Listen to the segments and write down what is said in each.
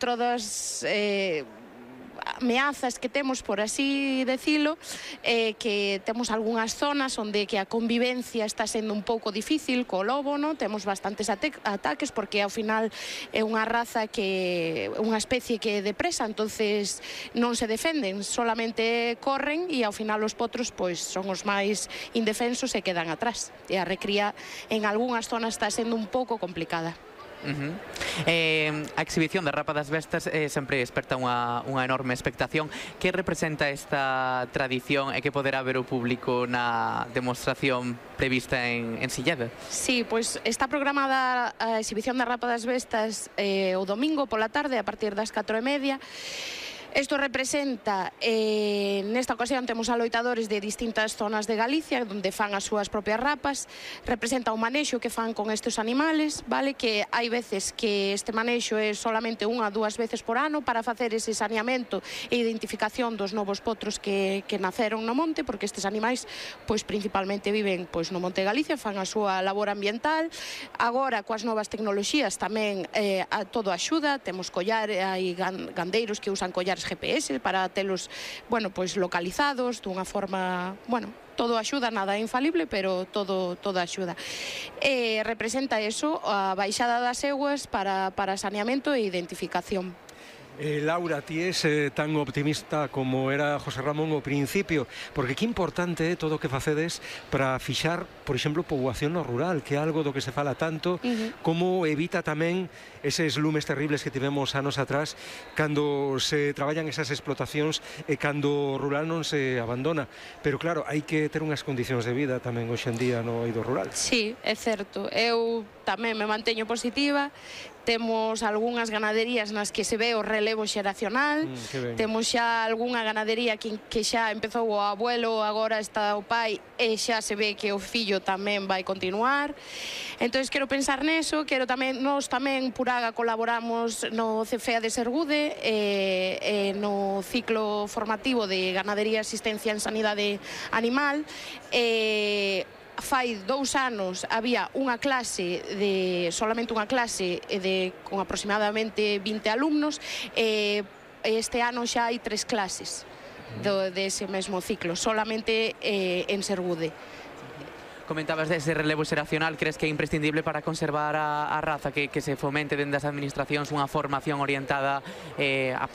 Outro das ameazas que temos, por así decilo, que temos algunhas zonas onde que a convivencia está sendo un pouco difícil co lobo, non? Temos bastantes ataques porque ao final é unha raza que unha especie que é depresa, entonces non se defenden, solamente corren e ao final os potros pois son os máis indefensos e quedan atrás. E a recría en algunhas zonas está sendo un pouco complicada. A exhibición da Rapa das Bestas sempre desperta unha enorme expectación. Que representa esta tradición e que poderá ver o público na demostración prevista en Silleda? Sí, pois está programada a exhibición da Rapa das Bestas o domingo pola tarde a partir das 4:30. Isto representa, nesta ocasión temos aloitadores de distintas zonas de Galicia onde fan as súas propias rapas. Representa o manexo que fan con estes animales, vale? Que hai veces que este manexo é solamente unha ou dúas veces por ano para facer ese saneamento e identificación dos novos potros que naceron no monte, porque estes animais pois principalmente viven pois no Monte de Galicia, fan a súa labor ambiental. Agora coas novas tecnoloxías tamén todo axuda, temos hai gandeiros que usan collares GPS para telos, bueno, pois localizados dunha forma, bueno, todo axuda, nada é infalible, pero todo axuda. Representa eso, a baixada das eguas para saneamento e identificación. Laura, ti es tan optimista como era José Ramón ao principio, porque que importante é todo o que facedes para fixar, por exemplo, poboación no rural, que é algo do que se fala tanto, como evita tamén eses lumes terribles que tivemos anos atrás cando se traballan esas explotacións e cando o rural non se abandona. Pero claro, hai que ter unhas condicións de vida tamén hoxe en día no eido rural. Sí, é certo. Eu tamén me manteño positiva. Temos algunhas ganaderías nas que se ve o relevo xeracional, temos xa algunha ganadería que xa empezou o abuelo, agora está o pai e xa se ve que o fillo tamén vai continuar. Entón, quero pensar neso, nós tamén por AGA colaboramos no CFEA de Sergude, no ciclo formativo de ganadería e asistencia en sanidade animal. Fai 2 anos había unha clase, solamente unha clase con aproximadamente 20 alumnos, e este ano xa hai 3 clases dese mesmo ciclo, solamente en Sergude. Comentabas dese relevo xeracional, crees que é imprescindible para conservar a raza, que se fomente dende as administracións unha formación orientada a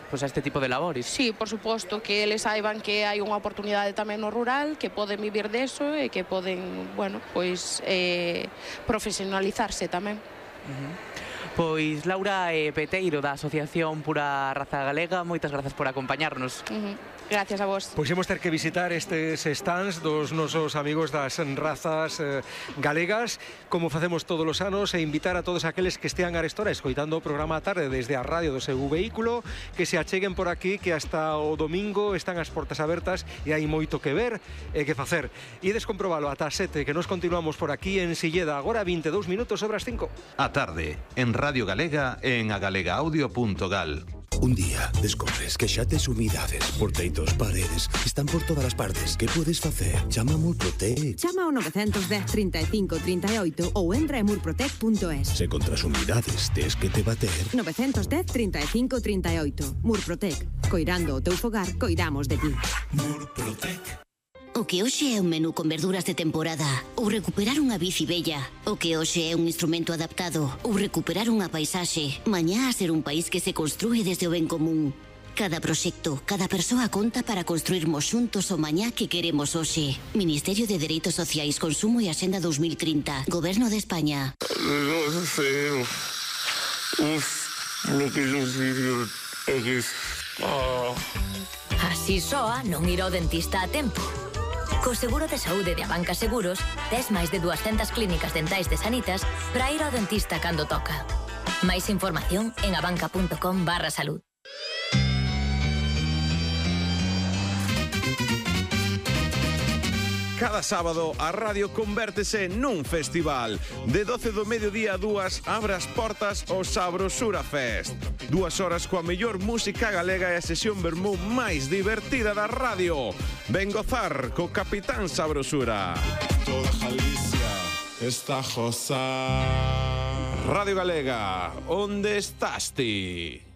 este tipo de labores? Sí, por suposto, que eles saiban que hai unha oportunidade tamén no rural, que poden vivir deso e que poden, bueno, pois profesionalizarse tamén. Pois Laura Peteiro, da Asociación Pura Raza Galega, moitas grazas por acompañarnos. Gracias a vos. Pois imos ter que visitar estes stands dos nosos amigos das razas galegas, como facemos todos os anos, e invitar a todos aqueles que estean arestora escoitando o programa a tarde desde a radio do seu vehículo, que se acheguen por aquí, que hasta o domingo están as portas abertas e hai moito que ver e que facer. Ides comprobalo ata as 7, que nos continuamos por aquí en Silleda, agora 22 minutos sobre as 5. A tarde, en Radio Galega e en agalegaaudio.gal. Un día descubres que xa tes humidades por teitos, paredes, están por todas as partes. Que podes facer? Chama a Murprotec. Chama ao 910 35 38 ou entra en murprotec.es. Se contra as humidades tes que te bater. 910 35 38. Murprotec. Coirando o teu fogar, coidamos de ti. Murprotec. O que hoxe é un menú con verduras de temporada, ou recuperar unha bici bella. O que hoxe é un instrumento adaptado, ou recuperar unha paisaxe. Mañá a ser un país que se construe desde o ben común. Cada proxecto, cada persoa conta para construirmos xuntos o mañá que queremos hoxe. Ministerio de Dereitos Sociais, Consumo e Axenda 2030. Goberno de España. Así soa non ir ao dentista a tempo. Co seguro de saúde de Abanca Seguros, tes máis de 200 clínicas dentais de Sanitas para ir ao dentista cando toca. Máis información en abanca.com/salud. Cada sábado a radio convértese nun festival. De 12 do mediodía a 2 abre as portas o Sabrosura Fest. 2 horas coa mellor música galega e a sesión vermú máis divertida da radio. Ven gozar co Capitán Sabrosura. Toda Galicia está a gozar. Radio Galega, onde estás ti?